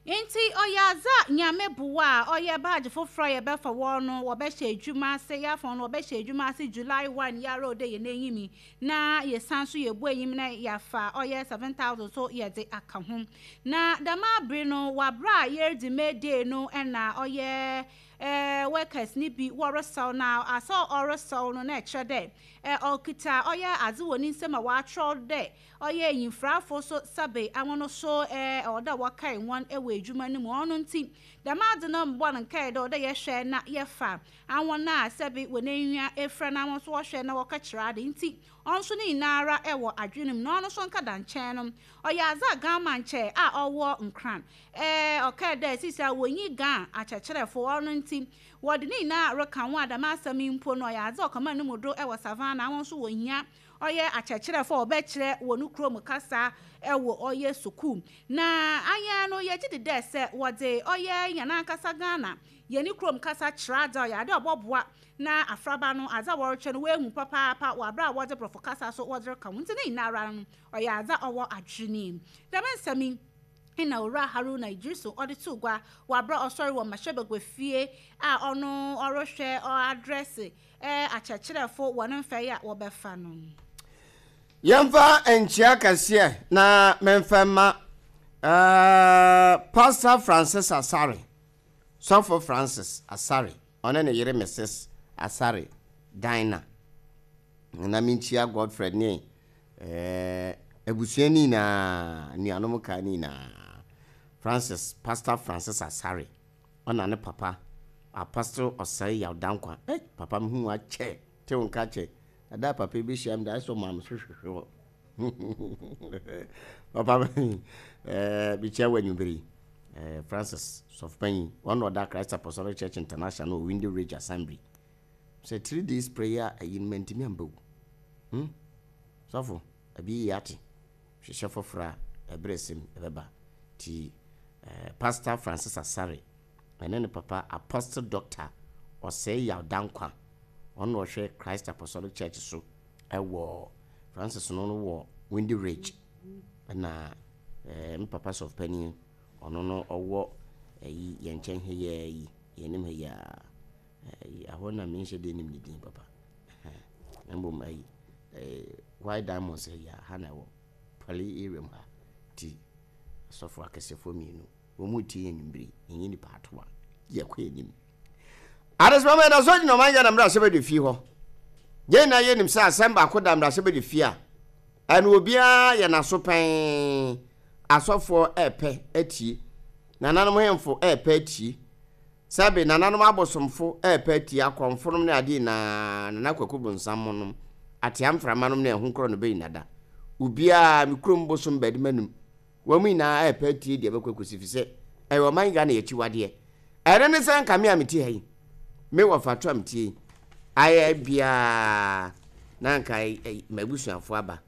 Nti oyaza nyame boa oye badge foforo ye be fa wo no wo be hye adwuma ase ya fa no wo be hye adwuma ase July one ya ro de ye n'enyimi na ye san so ye bu enyim na ya fa oye seven thousand so ye de aka ho na dama bre no wa bra ye di May Day no na oye eh workers ni bi wo na aso oro no na eche de eh okita oye aze woni nsem a wa tro de oye yimfrafo so sabe awono so eh oda wakai won ewe adwuma ni mu ono nti dama ade no mbo no nkai de oda ye hwe na ye fa awon na sabe woni efra na won so wo hwe na wo ka kire ade nti onso ni nara ewo adwenem na ono so nka da nchen no oye aza gama nche a owo nkran eh oka da sisia wonyi gan achecherefo ono nti wode ni na reka ho adama asem mpo no oye aza okama ne mudo ewo savannah won so wohia oye achecherefo obekire wonu krom kasa ewo oye suku na anya no ye gidi de se wode oye yana kasa Ghana ye ni krom kasa krada oye ade oboboa na afraba no aza worche no wehu papa pa wa bra wode brofo kasa so wode ka nti ni nara no oye aza owo adwene da mensami ina ora Haruna Idrisu ode tugwa wa bra osori wo mahwebegwe fie a ono orohwe o address eh achecherefo wo no mfa ya wo befa no yemfa enchia kase na memfa ma eh Pastor Francis Asare, Sofo Francis Asare, one ne yere Missus Asare Dina na minchia Godfred ni eh ebusuani na nuanom ka ni na Francis, Pastor Francis Asare ona ne papa Apostle Osai Yawdankwa eh papa mhu a che te wonka che ada papa bi hia m da so mam hwehwehwe papa eh bi che wanyu eh Francis Sofpanyi one of the Christ Apostolic Church International Window Ridge Assembly say three days prayer ayin mentimi ambawu hm sofo abi yati hwehwe fofra ebresim ebeba ti eh, Pastor Francis Asare Ɛne ne papa Apostle Doctor Ɔsɛe Yaw Dankwa, ɔno na ɔhwɛ Christ Apostolic Church so ɛwɔ Francis no no wɔ Windy Ridge. Ɛna ɛɛ me papa sɔfo panin, ɔno no ɔwɔ ɛyi yɛn nkyɛn ha yi, yɛn anim ha yi a ɛyi ahɔ na menhyɛ de nim ne din papa. Na mmom ɛyi ɛɛ White Diamonds yi a ha na ɛwɔ Pali area mu ha. Ti asɔfo akɛsefoɔ mmienu wɔn mu tie yɛn nwummere, yɛnyɛ nipa ato a yɛkɔ yɛn anim. Adesima mɛ da so gyina ɔman Ghana mmarahyɛbadwa fie hɔ. Yɛn nyinaa yɛnim sɛ asɛm baako da mmarahyɛbadwa fie a ɛno obiara yɛ n'aso pɛn. Asɔfoɔ ɛɛpɛ atie, nananom hemfo ɛɛpɛ atie, sɛbe nananom abosomfo ɛɛpɛ atie, akɔmfonom ne adeɛ nyinaa, nana kwaku bonsam nom, atea mframa nom ne ɛho korɔ no bɛyi nada. Obiara me kurom bosom bɛde m'anum. Wɔn nyinaa ɛɛpɛ atie deɛ ɛbɛkɔ akɔsi, fi sɛ ɛyɛ ɔman Ghana yɛ akyiwadeɛ. Ɛno ne sɛ nka me a mete ha yi, me wɔ fato a metie yi, ayɛ biara na nka m'abusuafoɔ aba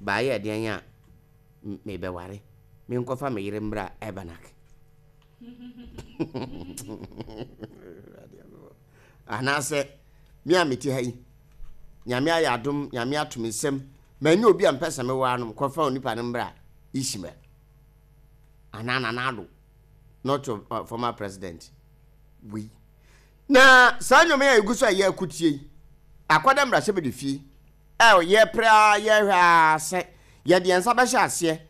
baayɛ ɛdeɛn a mebɛware, menkɔfa me yere mmra Ɛbanak. Anaasɛ me a mete ha yi, Nyame ayɛ adom, Nyame ato me nsam, manyɛ obi a mpɛ sɛ mewɔ anom, kɔfa onipa no mmra Ishmael anaa Nana Addo, not your uh, former president. Wei na saa nnwoma yi a ɛgu so a yɛ akutie yi akɔda mmarahyɛbadwa fie a yɛpere a yɛhwɛ a sɛ yɛde yɛn nsa bɛhyɛ aseɛ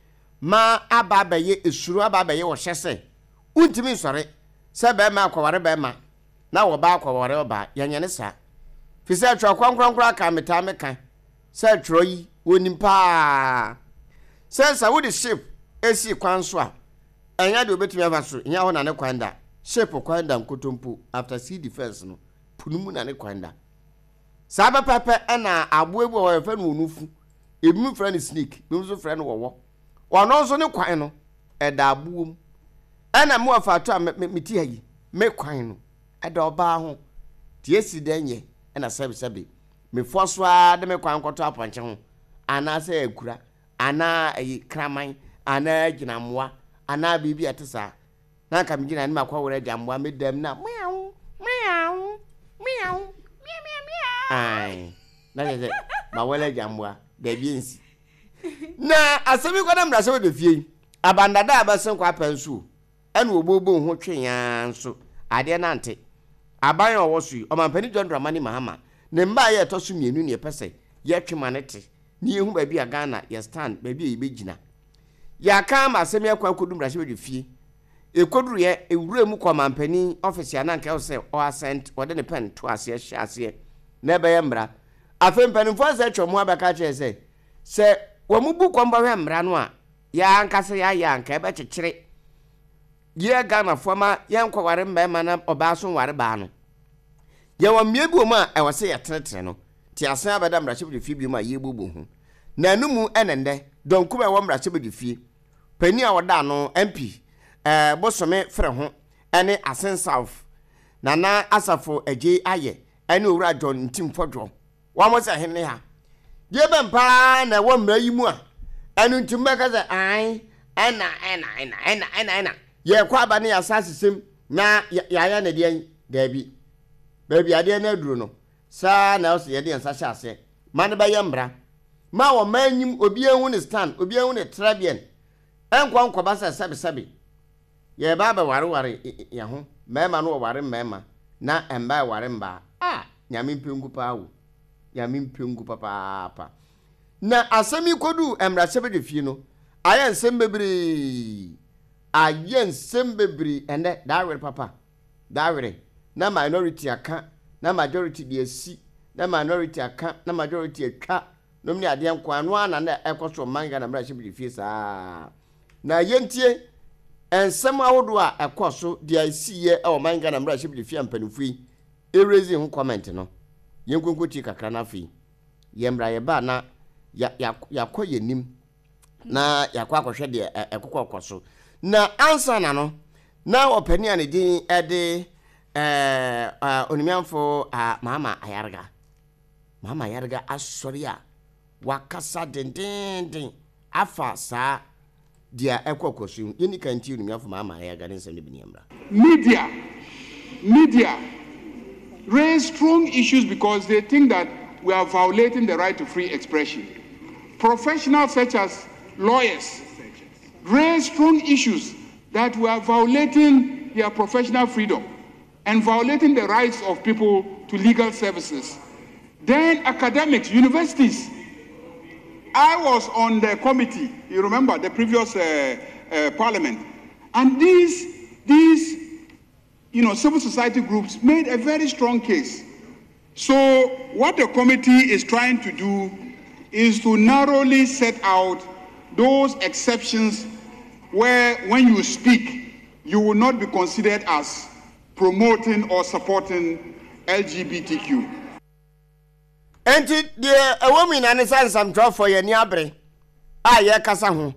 ma aba abɛyɛ esuro, aba abɛyɛ ɔhyɛ sɛ wontumi nsɔre sɛ bɛrima akɔware bɛrima na wɔba akɔware ɔbaa. Yɛnyɛ ne saa, fi sɛ twerɛ kronkronkron aka metaa meka sɛ twerɛ yi wɔnim paa sɛ sɛ wode ship esi kwan so a, ɛnyɛ deɛ obɛtumi afa so nyɛ hɔ na ne kwan da. Ship kwan da nkotompo after sea defense no punu mu na ne kwan da saa pɛpɛpɛ. Ɛna aboa bi wɔ hɔ yɛfrɛ no onufu, ebinom frɛ no snake, ebinom nso frɛ no wɔwɔ. Ɔno nso ne kwan no ɛda aboɔ mu. Ɛna mu afa ato a me ti ha yi, me kwan no ɛda ɔbaa ho tie si dɛn yɛ. Ɛna sɛbisɛbi mefoɔ so ara de me kwan kɔtɔ apɔnkye ho, anaasɛ akura, anaa ɛyi kraman, anaa gyinammoa, anaa biribi a ɛte saa, na nka megyina ne makɔwere agyammoa me dam na meow meow meow ai na kyerɛ sɛ mawɔle agyammoa daabi nsi. Na asɛm yi kɔda mmarahyɛbadwa fie yi, abandada a bɛsen kɔ apɛ nso o, ɛna wɔbɔbɔ ho tweaa nso adeɛ nante. Aban a ɔwɔ so yi, ɔmampanin John Dramani Mahama ne mma a yɛ ɛtɔ so mmienu ne yɛpɛ sɛ yɛtwe ma ne te ne yɛhu baabi a Ghana yɛ stand, baabi a yɛbɛgyina. Yɛaka ama asɛm yi akɔ akɔdu mmarahyɛbadwa fie. Ɛkɔduruyɛ ewura mu kɔ ɔmampanin ɔfisi a na nka ɛwɔ sɛ ɔasɛnt, ɔde ne pɛn to aseɛ hyɛ aseɛ na ɛbɛyɛ mmara. Afei mpanimfoɔ asɛ atwa mu abɛka kyerɛ sɛ sɛ wɔn mu bu kɔn bɔhwɛ mmara no a yɛn ankasa yɛayɛ anka ɛbɛkyekyere yɛ Ghanafoɔ ma yɛnkɔware mmarima na ɔbaa so nware baa no. Yɛwɔ mmea bi wɔ mu a ɛwɔ sɛ yɛtenetene no te asen abɛda mmarahyɛbadwa fie bi mu a yɛbubu ho na ɛno mu. Ɛne nnɛ dɔnkum a ɛwɔ mmarahyɛbadwa fie, panin a ɔda ano, M P ɛɛ Bosome Frɛ ho, ɛne Assin South Nana Asafo Agye ayɛ, ɛne Owura John Ntim Fɔdwoɔ, wɔn sɛ hene ha deɛ bɛn paa na ɛwɔ mmara yi mu a ɛno nti mbɛka sɛ ae ɛna ɛna ɛna ɛna ɛna ɛna yɛkɔ aba ne yɛasa asesɛm na yɛayɛ ne deɛ. Daabi, baabi adeɛ no aduro no saa na ɛwɔ sɛ yɛde yɛn nsa hyɛ aseɛ ma no bɛyɛ mmara ma wɔn mma anim, obiara hu ne stand, obiara hu ne trɛbiɛn. Ɛnkɔ nkɔba sɛ sɛbesɛbe yɛba abɛwareware yɛn ho, mmarima no wɔware mmarima na mmaa ɛware mmaa a. Nyame mpengu paa wo, Nyame mpengu papaapa. Na asɛm yi kɔduu mmarahyɛbadwa fie no, ayɛ nsɛm bebree, ayɛ nsɛm bebree. Ɛnɛ daawere papa daawere na minority aka na majority de asi, na minority aka na majority atwa nom ne adeɛ nko ano a na na ɛkɔ so ɔman Ghana mmarahyɛbadwa fie saa. Na yɛntie nsɛm ahodoɔ a ɛkɔ so deɛ ɛsiiɛ ɛwɔ ɔman Ghana mmarahyɛbadwa fie a mpanimfoɔ yi ɛrezi ho comment no. Yɛnkonko tie kakra no, afei yɛmmra yɛba na yɛakɔ yɛnim na yɛakɔ akɔhwɛ deɛ ɛkokɔ kɔ so. Na ansa na no na ɔpanin a ne din ɛde ɛɛ onimiamfo Mahama Ayarga, Mahama Ayarga asɔre a wakasa dendenden afa saa deɛ ɛkɔ kɔ so. Yɛni kan tie onimiamfo Mahama Ayarga ne nsɛm no bi ne yɛmmra. Media Media raise strong issues because they think that we are violating the right to free expression. Professionals such as lawyers raise strong issues that we are violating their professional freedom and violating the rights of people to legal services. Then academics, universities. I was on the committee, you remember, the previous uh, uh, parliament, and these, these you know, civil society groups made a very strong case. So what the committee is trying to do is to narrowly set out those exceptions where when you speak, you will not be considered as promoting or supporting L G B T Q. Enti deɛ ɛwɔ mu nyinaa ne sɛ nsɛmtwerɛfoɔ yɛ ani abere a yɛrekasa ho.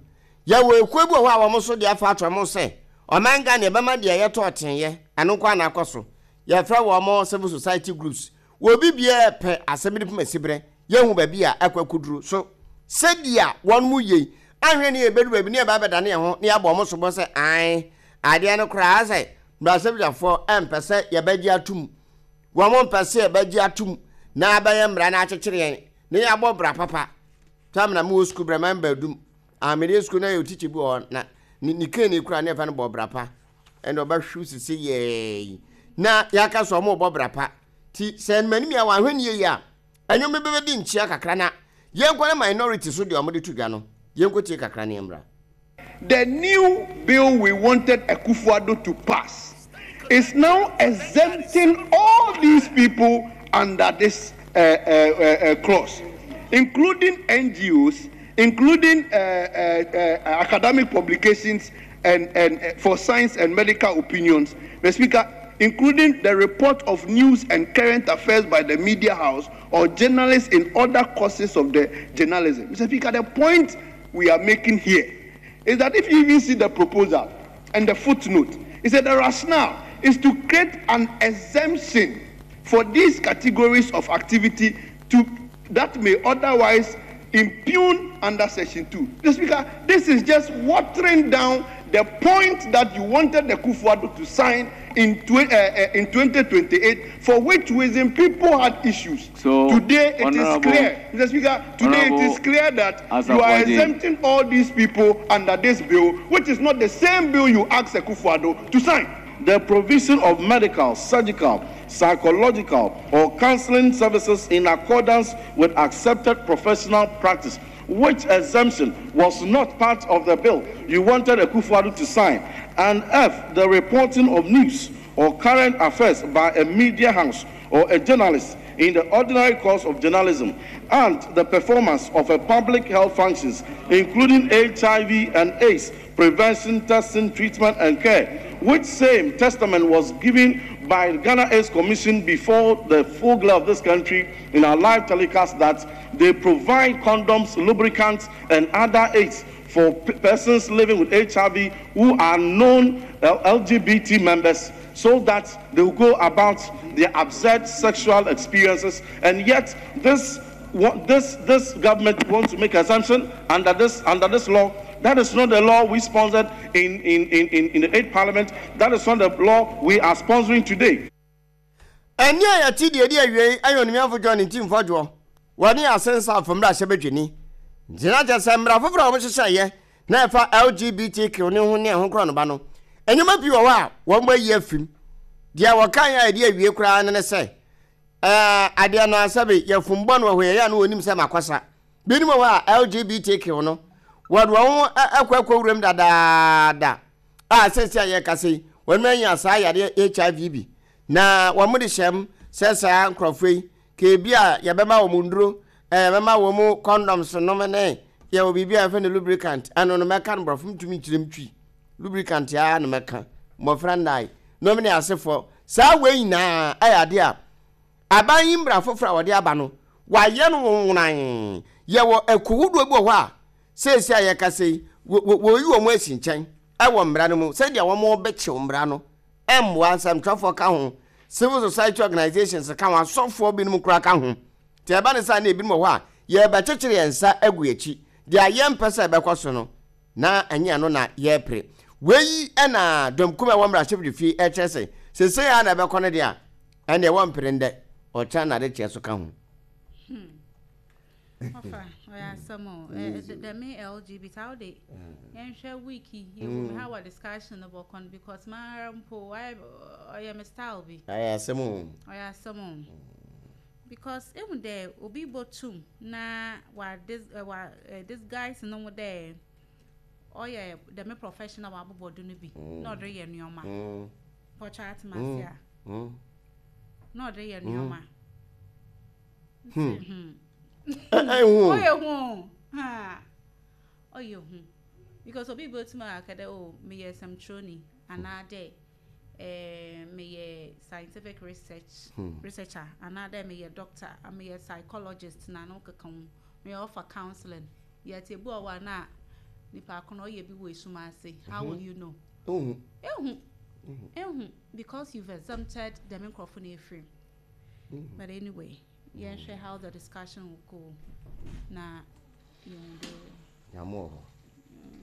Yɛwɔ ekuo bi wɔ hɔ a wɔn nso de afa ato wɔn sɛ ɔman Ghana yɛbɛma deɛ yɛtɔ ɔtenyɛ ɛno nko ana akɔ so. Yɛfrɛ wɔn civil society groups. Wɔbi biara pɛ asɛm de pem asiberɛ yɛhu baabi a ɛkɔ akuduro so sɛdeɛ wɔn mu yie ahwɛ ne yɛbɛdu baabi ne yɛba abɛdane yɛn ho ne yɛabɔ wɔn sobɔ sɛ ae adeɛ no koraa sɛ mmarahyɛbadwafoɔ ɛmpɛ sɛ yɛbɛgye atum, wɔn mpɛ sɛ yɛbɛgye atum na abɛyɛ mmara no akyekyere yɛn ne yɛabɔ bra papa. Tam na mewɔ sukuu brɛ man baadum amede sukuu na yɛ tikyi bi wɔ hɔ na ne ne kee ne kura ne yɛfa no bɔ bra pa, ɛna ɔbɛhwew sisi yɛɛ na yɛaka sɛ ɔmo bɔ bra pa. Ti sɛ mmanim a wɔahwɛ ne yie a ɛnwom bi bɛbɛdi nkyia kakra na yɛnkɔ ne minority so deɛ ɔmo de to dwa no, yɛnkɔ tie kakra ne yɛmmra. The new bill we wanted Akufo-Addo to pass is now exempting all these people under this uh, uh, uh, uh, clause, including N G Os, including uh, uh, uh, academic publications and, and uh, for science and medical opinions. Mister Speaker, including the report of news and current affairs by the media house or journalists in other courses of the journalism. Mister Speaker, the point we are making here is that if you even see the proposal and the footnote, it said the rationale is to create an exemption for these categories of activity to that may otherwise impugn under section two. Mister Speaker, this is just watering down the point that you wanted the Akufo-Addo to sign in, tw- uh, uh, in twenty twenty-eight, for which reason people had issues. So, today it is Honorable- clear, Mister Speaker, today it is Honorable clear that you are Asafo-Adjei. Exempting all these people under this bill, which is not the same bill you asked Akufo-Addo to sign. The provision of medical, surgical, psychological, or counseling services in accordance with accepted professional practice, which exemption was not part of the bill you wanted Akufo-Addo to sign. And F, the reporting of news or current affairs by a media house or a journalist in the ordinary course of journalism, and the performance of a public health functions, including H I V and AIDS prevention, testing, treatment, and care, which same testament was given by the Ghana AIDS Commission before the full glare of this country in our live telecast that they provide condoms, lubricants, and other aids for p- persons living with H I V who are known uh, L G B T members so that they will go about their absurd sexual experiences. And yet, this, this, this government wants to make exemption under this, under this law. That is not the law we sponsored in, in, in, in, in the eighth parliament. That is not the law we are sponsoring today. Ɛni a yɛte deɛ di awie ɛyɛ onimiafo John Ntim Fordjour wɔne Assin South mmarahyɛbadwani ntina kyɛ sɛ mmara foforɔ a wɔhyehyɛeɛ na ɛfa L G B T Q ne ho ne ɛho korɔ no ba no, nneɛma pii wɔ hɔ a wɔn bɔ ayi afim. Deɛ wɔkan a yɛde awie koraa ne ne sɛ ɛɛ adeɛ no asɛbe yɛfom bɔ no wɔ hɔ yɛyɛ a no wɔnim sɛ makɔsa binom wɔ hɔ a L G B T Q no wɔde wɔn ho ɛkɔ ɛkɔ wuram dadaada a sɛsi a yɛkasa yi wɔn anya saa yadeɛ H I V bi na wɔn de hyɛm sɛ saa nkurɔfoɔ yi keebi a yɛbɛma wɔn nduro, ɛɛ yɛbɛma wɔn condoms nom ne yɛwɔ biribi a yɛfrɛ no lubricant. Ɛno no mɛka no borɔfo ntumi nkyerɛ mu twi lubricant a no mɛka mmɔfra nnae nom ne asefoɔ. Saa wei nyinaa ɛyɛ adeɛ a aban yi mmara foforɔ a wɔde aba no wayɛ no nwonwan. Yɛwɔ ɛkohodoɔ bi wɔ hɔ a seesi a yɛkasa yi wɔyi wɔn asi nkyɛn ɛwɔ mmara no mu sɛdeɛ wɔn bɛkyew mmara no. Ɛmmoa nsɛmtwerɛfoɔ ka ho, civil society organizations ka ho, asɔfoɔ binom koraa ka ho. Nti ɛba ne saa na ebinom wɔ hɔ a yɛbɛkyekyere yɛn nsa agu akyi deɛ yɛmpɛ sɛ ɛbɛkɔ so no na ɛnyɛ no na yɛrepere. Wei ɛna dɔmkum a ɛwɔ mmarahyɛbadwafie ɛkyerɛ sɛ Sese ya na ɛbɛkɔ no deɛ a ɛnneɛ wɔmpere ndɛ ɔkyɛn na de kyɛ so ka ho. Ɔfa ɔyɛ asɛm o. Dɛm L G B T how de yɛnhwɛ wiki yɛwɔ mu, how a discussion no bɔkɔ no, because maa mpo ɔyɛ me style bi. Ɛyɛ asɛm o. Ɔyɛ asɛm o, because ehu dɛ obi bɔtum na wa dis wa disguise no ho dɛ ɔyɛ dɛm professional wabobɔ do no bi na ɔde yɛ nneɛma pɔtɔ atema ase a na ɔde yɛ nneɛma. Ɛhu. Ɔyɛ hu, ɔyɛ hu, because obi bɔtum aka dɛ, o, meyɛ sɛmtwerɛni anaa dɛ ɛɛ meyɛ scientific research hmm. researcher anaa dɛ meyɛ doctor, meyɛ psychologist na ano keka ho, meyɛ offer counseling, yɛte ebi wɔ hɔ a na nipa ko no ɔyɛ bi wɔ esum ase. How will you know? Ehu ehu, because you've exempted dɛm nkurɔfo na efiri. But anyway, yɛnhwɛ how the discussion will go na yɛn do. Nyame wɔ hɔ,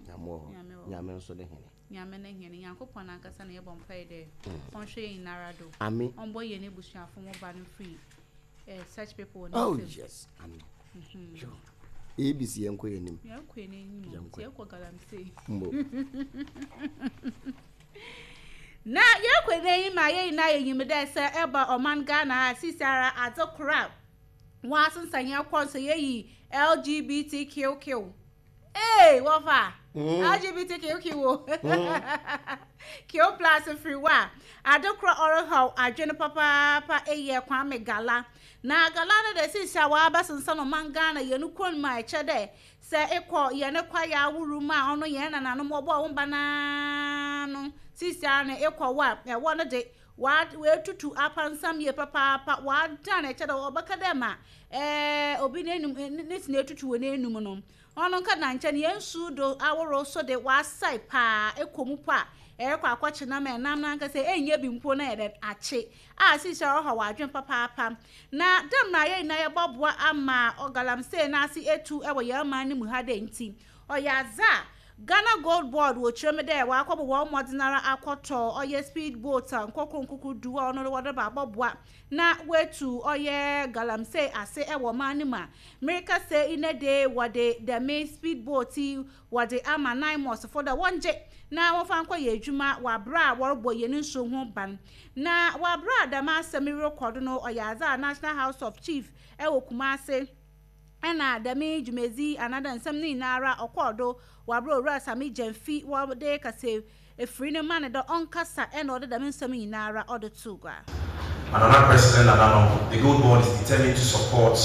Nyame wɔ hɔ, Nyame nso de hene. Nyame ne hene, Nyankopɔn ankasa na yɛbɔ mpae dɛ ɔnhwɛ yɛn nyinara do. Amen. Ɔmbɔ yɛn ebusuafo ho ba no free eh, such people. Oh yes, amen. Sure. A B C, yɛnkɔ yɛn anim. Yɛnkɔ yɛn anim, yɛkɔ galamsey. Mbo. Na yɛkɔ yɛn anim a, yɛn nyinaa yɛnyim dɛ sɛ ɛba ɔman Ghana a, sisi ara adze kora wɔn asensan yɛn kɔ nso yɛyi L G B T Q Q. Ee, wɔfa L G B T Q Q o Q plus firi hɔ a, ade korɔ ɔrehaw adwene papaapa ɛyɛ Kwame Gala. Na gala no de, sisi a wɔabɛsensan ɔman Ghana yɛn kurom mu a, ɛkyɛ dɛ sɛ ekɔ yɛn kwaeɛ aworo mu a, ɔno yɛn nananom wɔbɔ wɔn ba naa no, sisi a no ekɔ hɔ a, ɛwɔ no de wɔatutu apansam yie papaapa, wɔadan ɛkyɛ dɛ ɔbɛka dɛ ma ɛɛ obi n'enum ne tena etutu wɔ n'enum no, ɔno nka na nkyɛn yɛn nsu do ahorow so de wɔasɛe paa. Ekɔ mu po a, ɛrekɔ akɔkye nam, ɛnam nankasa ɛnyɛ bi mpo na yɛde akye a, sisi a ɔha wɔ adwene papaapa. Na dɛm na yɛn nyinaa yɛbɔboa ama ɔgalamsey n'ase etu ɛwɔ yɛn man no mu ha dɛ. Nti ɔyɛ adze a Ghana Gold Board wɔ kyerɛ mu dɛ wakɔbɔ wɔn mmɔden ara akɔtɔ ɔyɛ speed boat a nkɔkɔ nkoko du a ɔno wɔde ba abɔboa na wetu ɔyɛ galamsey ase ɛwɔ ɔman no mu. A mmirika sɛ ine de wɔde dɛm speed boat yi wɔde ama NAIMOS fo dɛ wɔngye na wɔfa nkɔ yɛ adwuma wɔ abere a wɔrebɔ yɛn nsuo ho ban. Na wɔ abere a dɛm asɛm yi rekɔ do no, ɔyɛ adze a National House of Chief ɛwɔ Kumase ɛna dɛm dwumadzi anaadɛ nsɛm no nyinara ɔkɔɔ do wɔ abere Owura Sammy Gyamfi wɔde kasa efiri ne ma ne dɛ ɔnkasa, ɛna ɔde dɛm nsɛm nyinara ɔde to gua. Nana President Nananom, the Gold Board is determined to support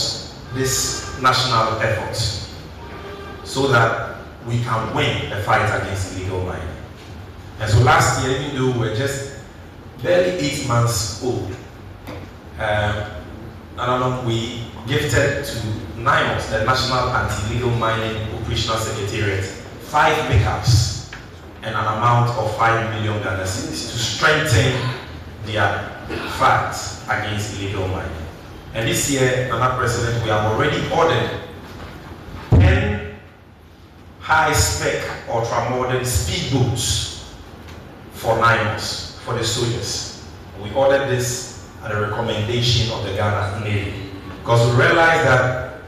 this national effort so that we can win the fight against illegal mining. And so last year, even though we were just barely eight months old, um, Nananom, we gifted to NAIMOS, the National Anti-Illegal Mining Operational Secretariat, five pickups and an amount of five million Ghana cedis to strengthen their fight against illegal mining. And this year, Nana President, we have already ordered ten high-spec, ultra-modern speedboats for NAIMOS, for the soldiers. We ordered this at the recommendation of the Ghana Navy because we realized that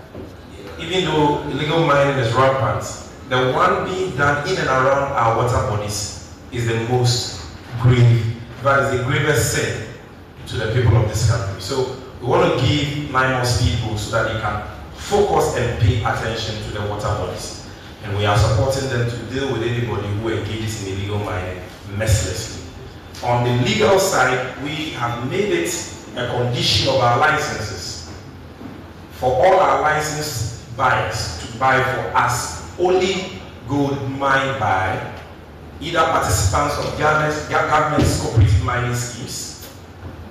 even though illegal mining is rampant, the one being done in and around our water bodies is the most grave, that is the gravest sin to the people of this country. So we want to give NAIMOS people so that they can focus and pay attention to the water bodies. And we are supporting them to deal with anybody who engages in illegal mining mercilessly. On the legal side, we have made it a condition of our licenses for all our licensed buyers to buy for us only gold mined by either participants of Ghana's government's cooperative mining schemes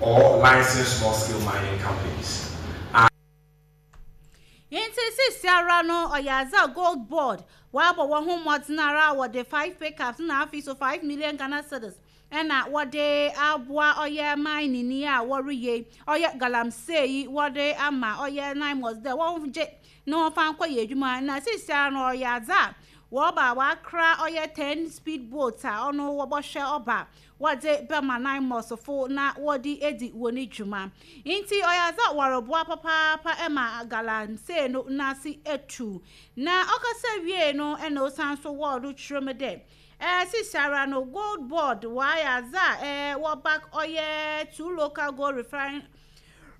or licensed small-scale mining companies. Nti sisi ara no, ɔyɛ adze a Gold Board wabɔ wɔn ho mmɔden ara, wɔde five pickups na afei so five million Ghana cedis ɛna wɔde aboa ɔyɛ mining ni a wɔreyɛ ɔyɛ galamsey yi, wɔde ama ɔyɛ NAIMOS dɛ wɔn gye na wɔfa nkɔ yɛ adwuma. Na sisi ara no, ɔyɛ adze a Wɔba wakra ɔyɛ ten speed boat a ɔno wɔbɔhwɛ ɔba wɔde bɛma NAIMOS na wɔde edi wɔn ne dwuma. Nti ɔyɛ adze wɔreboa papaapa ɛma galamsey no n'ase etu. Na ɔkasa wie no, ɛna osan so wɔɔdo kyerɛ mu dɛ ɛɛ sisiara no, Gold Board wɔayɛ adze a ɛɛ wɔba ɔyɛ two local gold refine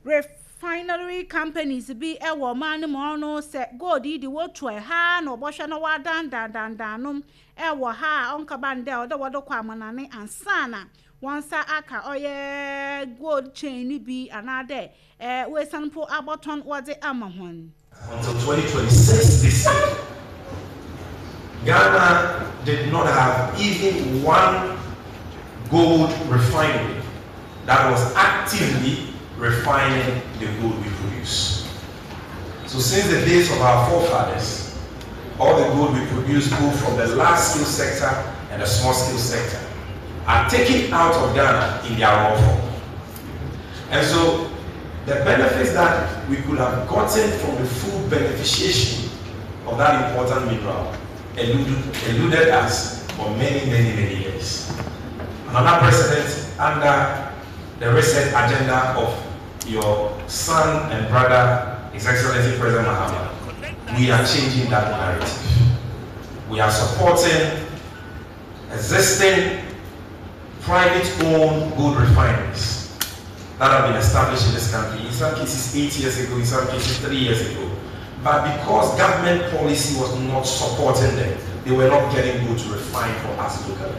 refinery companies bi ɛwɔ ɔman no mu. Ɔno sɛ gold yi de wotu ɛha na ɔbɔhwɛ na wadandandandan nom ɛwɔ ha a ɔnkaba ndɛ ɔdɛ wɔde kɔ amanane ansana wɔn nsa aka ɔyɛ gold chain ni bi anaadɛ ɛɛ wɔesan po abɔtɔn wɔde ama wɔn. Until twenty twenty-six this year, Ghana did not have even one gold refinery that was actively refining the gold we produce. So since the days of our forefathers, all the gold we produce, both from the large scale sector and the small scale sector, are taken out of Ghana in their raw form. And so the benefits that we could have gotten from the full beneficiation of that important mineral eluded, eluded us for many, many, many years. Another president, under the reset agenda of your son and brother, His Excellency President Mahama, we are changing that narrative. We are supporting existing private-owned gold refineries that have been established in this country, in some cases eight years ago, in some cases three years ago. But because government policy was not supporting them, they were not getting gold to refine for us locally.